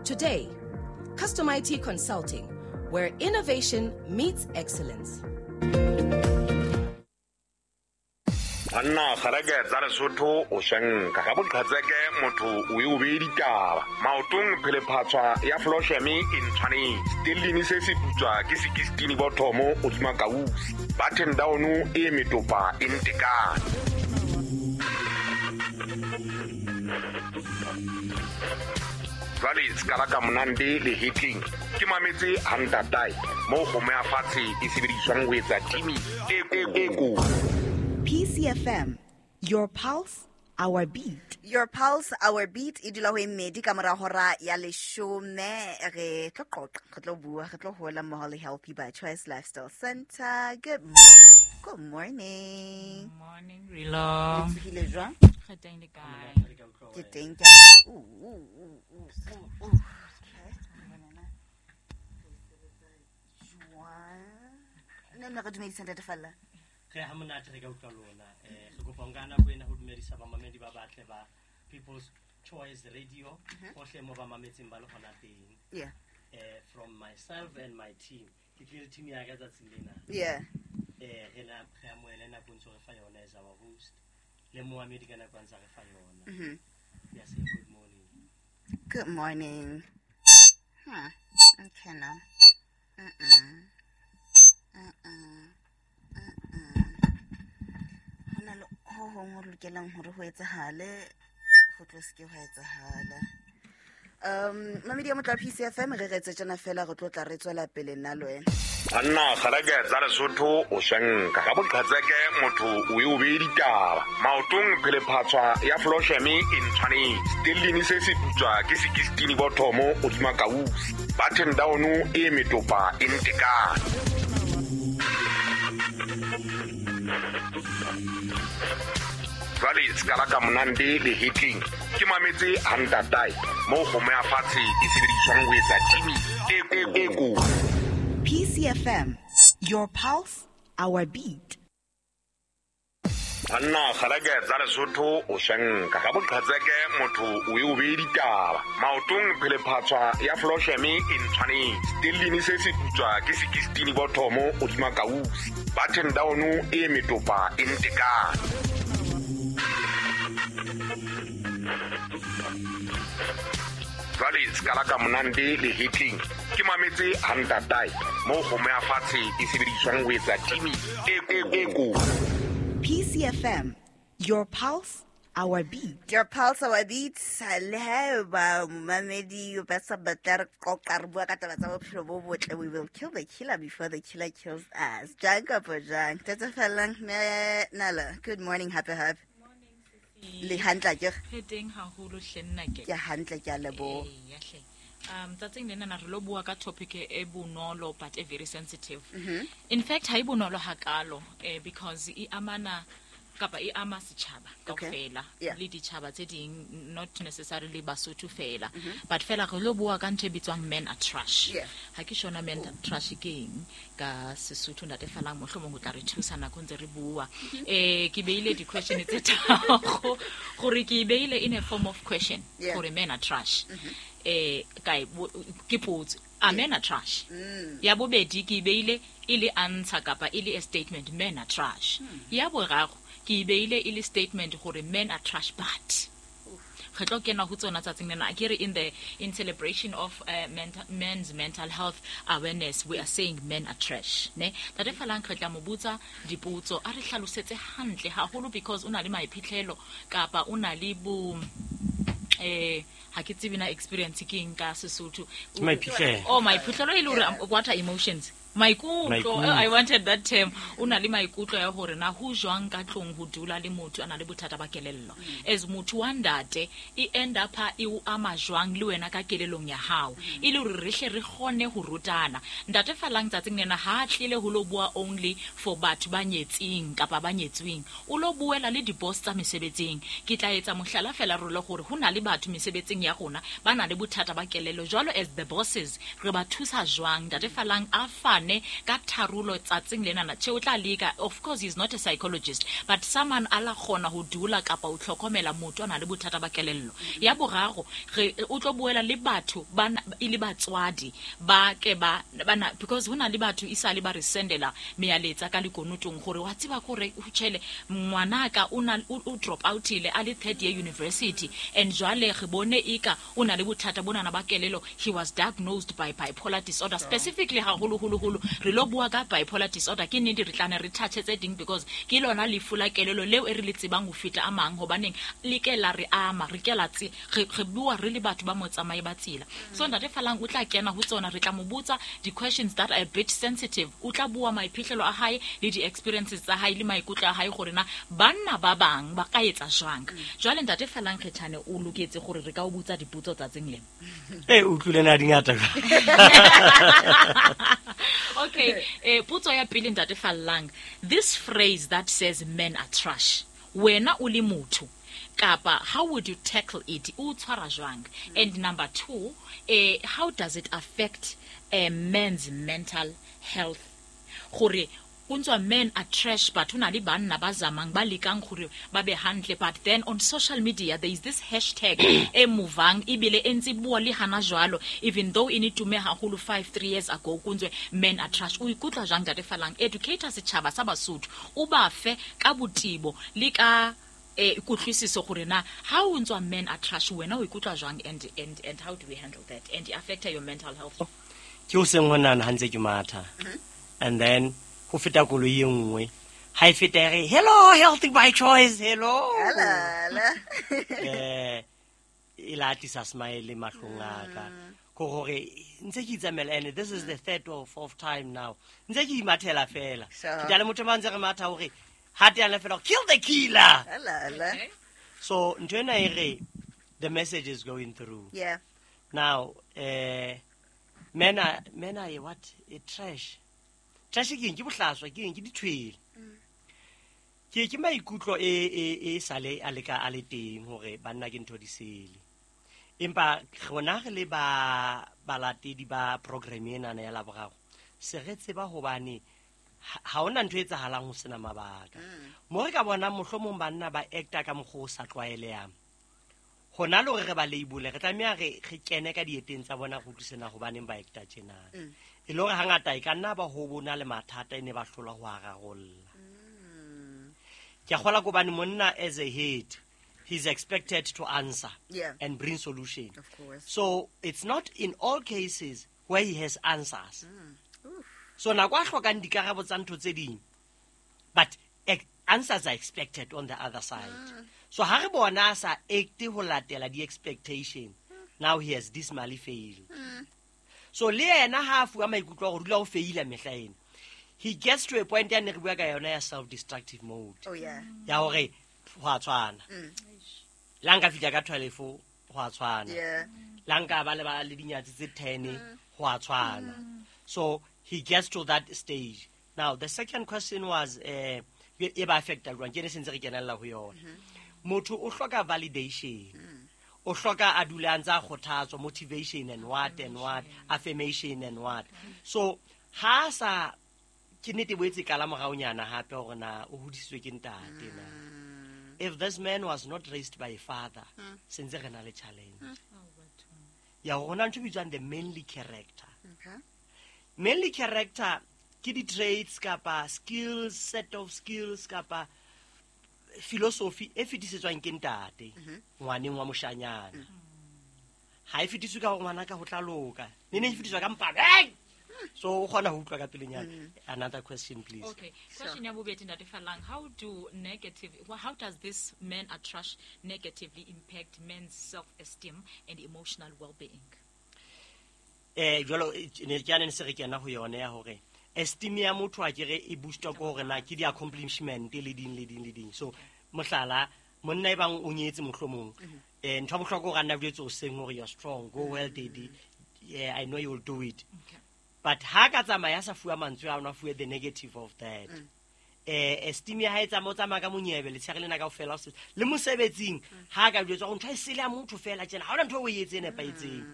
today. Custom IT Consulting, where innovation meets excellence. Banna kgareke tsa Lesotho o shanka ga boqhatseke motho o e o beye ditaba maotong phelephatshwa ya flosheme e ntshwanetse stellini se se putswa ke sekistini bothomo godima kausi button down e metopa e ntekane. Jwale se ka monande le hitling ke mametse hantatae mo kgomo ya fatshe e sebediswang ho etsa timi e ko. PCFM, your pulse, our beat. Your pulse, our beat. E dula ho e mmedi ka mora hora ya leshome. Re tlo qoqa, re tlo bua, re tlo hola mmoho le Healthy by Choice Lifestyle Center. Good morning. Good morning, Rilo. Le tsohile jwang? Re teng le kae? Ke teng ke a. Okay. Jwang? Ne re dumedisa Ntate Falla. Re ha monate re ka utlwa lona. Re kopa nka nako ena ho dumedisa bamamedi ba batle ba People's Choice Radio hohle mo ba mametseng ba le hona teng. Yeah. From myself and my team. Ke tlile team ya ka tsatsing lena. Yeah. Re na re amohele nako ntse re fa yona as our host. Le moamedi ka nako ntse re fa yona. We are saying good morning. Good morning. Huh. Okay now. Hona le ho hong ho lokelang hore ho etsahale, ho tlo se ke hwa etsahala. Mamedi ya motla PCFM re retse tjena fela re tlo tla re tswela pele nna le wena. Banna kgareke tsa Lesotho o shanka ga boqhatseke motho o e o beye ditaba maotong phelephatshwa ya flosheme e ntshwanetse stellini se se putswa ke sekistini bothomo godima kausi button down e metopa e ntekane. Jwale se ka monande le hitling ke mametse hantatae mo kgomo ya fatshe e sebediswang ho etsa timi e ko. PCFM, your pulse, our beat. Banna kgareke tsa Lesotho o shanka ga boqhatseke motho o e o beye ditaba maotong phelephatshwa ya flosheme e ntshwanetse stellini se se putswa ke sekistini bothomo godima kausi button down e metopa e ntekane. Jwale se ka monande le hitling ke mametse hantatae mo kgomo ya fatshe e sebediswang ho etsa timi e ko. PCFM, your pulse, our beat. Your pulse, our beat. Le haeba momamedi ba sa batla re qoqa re bua ka taba tsa bophelo bo botle, we will kill the killer before the killer kills us. Jang kapa jang. Tata Fallang, me Nala. Good morning, happy happy. Le hantle ke. Re teng haholo hle nna ke. Ke hantle ke a leboha. Ya hle. Tsatsing lena re lo bua ka topic e bonolo but e very sensitive. In fact ha e bonolo hakalo because e amana kapa e ama setjhaba kaofela le ditjhaba tse ding, not necessarily Basotho fela, but fela re lo bua ka ntho e bitswang men are trash. Ha ke shona men are trash ke eng ka Sesotho Ntate Fallang mohlomong o tla re thusa nako ntse re bua. Ke beile di question tse tharo gore ke beile in a form of question gore men are trash. Kae ke potso, a men are trash. Ya bobedi ke beile e le answer kapa e le a statement, men are trash. Ya boraro ke beile e le statement gore men are trash but re tlo kena ho tsona tsatsing lena. Ke re in celebration of men's mental health awareness, we are saying men are trash ne. Ntate Fallang re tla mo botsa dipotso a re hlalosetse hantle haholo because o na le maiphihlelo kapa o na le bo ha ke tsebe na experience ke eng ka Sesotho. Maiphihlelo. Oh, maiphihlelo e le hore what are emotions? Maikutlo. I wanted that term. O na le maikutlo ya hore na ho jwang ka tlong ho dula le motho a na le bothata ba kelello. As motho wa ntate e end up e o ama jwang le wena ka kelellong ya hao. E le hore re hle re kgone ho rutana. Ntate Fallang tsatsing lena ha tlile ho lo bua only for batho ba nyetseng kapa ba nyetsweng. O lo buela le di boss tsa mesebetsing. Ke tla etsa mohlala fela re le hore ho na le batho mesebetsing ya ya rona ba na le bothata ba kelello. Jwalo as the bosses re ba thusa jwang? Ntate Falang a fane ka tharolo tsatsing lenana. Che o tla leka, of course he's not a psychologist, but someone a la kgona ho dula kapa o tlhokomela motho a na le bothata ba kelello. Ya boraro, re o tlo boela le batho ba e le batswadi ba ke ba bana, because hona le batho isale ba re sendela mealetsa ka lekonotong gore wa tseba gore o tjhele ngwanaka o na o drop out ile a le third year university, and jwale re bone eka o na le bothata bonana ba kelelo. He was diagnosed by bipolar disorder. Specifically haholo holo holo re lo bua ka bipolar disorder. Ke nnete re tlane re touch tse ding because ke lona lefu la kelelo leo e re le tsebang ho feta a mang, hobaneng le ke la re ama, re ke la tse re bua re le batho ba motsamai ba tsela. So Ntate Falang o tla kena ho tsona, re tla mo botsa di questions that are a bit sensitive. O tla bua maiphihlelo a hae le di experiences tsa hae le maikutlo a hae gore na banna ba bang ba ka etsa jwang. Jwale Ntate Falang Kgethane o loketse gore re ka o botsa dipotso tsatsing lena. E utlwile na dingata. Okay, potso ya pele Ntate Falang, this phrase that says men are trash, wena o le motho kapa how would you tackle it? O tshwara jwang? And number 2, how does it affect a man's mental health? Gore kuntswa men are trash, but hona le banna ba zamang ba lekang gore ba be hantle, but then on social media there is this hashtag e movang ebile e ntse bua le hana jwalo, even though e ne tume haholo 5-3 years ago, kuntswe men are trash. O ikutlwa jwang Ntate Falang? Educator setjhaba sa Basotho, o ba fe ka botibo le ka kutlwisiso gore na ha o ntswa men are trash, wena o ikutlwa jwang, and how do we handle that and it affect your mental health? Ke o seng hona ha ntse ke matha, and then ho feta koloi e nngwe, ha e feta re hello healthy by choice, hello e la tlisa smile mahlong a ka ko hore ntse ke itsamela, and this is the third or fourth time now ntse ke imathela fela. Ke tla le motho ba ntse re matha hore ha te ana fela kill the killer. So ntho ena e re the message is going through. Yeah. Now men are what? A trash. Trash ke eng? Ke bohlaswa, ke eng? Ke dithwele. Ke maikutlo e sale a leka a le teng hore banna ke ntho di sele. Empa rona re le ba balatedi ba program ena ya Laboraro, se re tseba hobane ha hona ntho e etsahalang ho sena mabaka. Mo re ka bona mohlomong banna ba acta ka mokgwa o sa tlwaelehang. Hona le hore re ba label, re tlameha re kene ka dieteng tsa bona go utlwisena hobaneng ba acta tjena. E le hore hangata e ka nna ba ho bona le mathata e ne ba hlola ho a rarolla. Ke a kgola hobane monna as a head, he's expected to answer and bring solution. Of course. So it's not in all cases where he has answers. So nako a hlokang dikarabo tsa ntho tse ding, but answers are expected on the other side. So ha re bona a sa acte ho latela di-expectation, now he has dismally failed. So le yena ha a fuwa maikutlo a hore dula o faila mehla ena, he gets to a point ya ne re bua ka yona ya self-destructive mode. Oh, yeah. Ya hore ho a tshwana. La nka fihla ka 12 ho a tshwana. Yeah. La nka ba le ba le dinyatsi tse 10 ho a tshwana. So he gets to that stage. Now the second question was e ba affecta jwang? Ke ne se ntse re kenella ho yona. Motho o hloka validation. O hloka a dule a ntse a kgothatswa, motivation and what and what, affirmation and what. So ha sa ke nnete boetse kala moraonyana hape hore na o hodisitswe ke ntate na. If this man was not raised by a father, se ntse re na le challenge. Ya hona ntho e bitswang the manly character. Okay. Manly character ke di-traits kapa skills, set of skills kapa philosophy e fetisetswang ke ntate ngwaneng wa moshanyana. Ha e fetiswe ka hore ngwana ka ho tla loka. Ne ne e fetiswa ka mpane. Hey! So o kgona ho utlwa ka pelenyana. Another question please. Okay. Question ya bobedi Ntate Falang, how does this men are trash negatively impact men's self-esteem and emotional well-being? Jwalo ne ke ane se re kena ho yona ya hore esteem ya motho a kere e boost-wa ke hore na ke di-accomplishment le ding le ding le ding. So mohlala monna e bang o nyetse mohlomong, ntho ya bohlokwa hore a nna jwetse o seng hore you're strong, go well daddy, yeah, I know you will do it. Okay. But ha ka tsamaya sa fuwa mantswe a ona fuwe the negative of that. Esteem ya hae tsamaya, o tsamaya ka monyebe letshehare lena kaofela, o le mosebetsing ha a ka jwetswa gore ntho e sele ya motho fela tjena, ha hona ntho e o e etse e nepahetseng.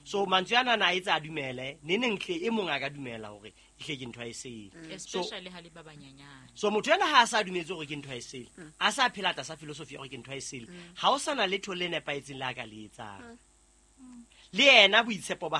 So mantswe ana a etsa a dumele neneng hle e mong a ka dumela hore ehle ke ntho a e sele. So Especially ha le ba banyenyane. So motho ena ha a sa dumetse hore ke ntho a e sele, a sa phela tlasa philosophy ya hore ke ntho a e sele, ha o sana letho le nepahetseng le a ka le etsang, le yena boitshepo ba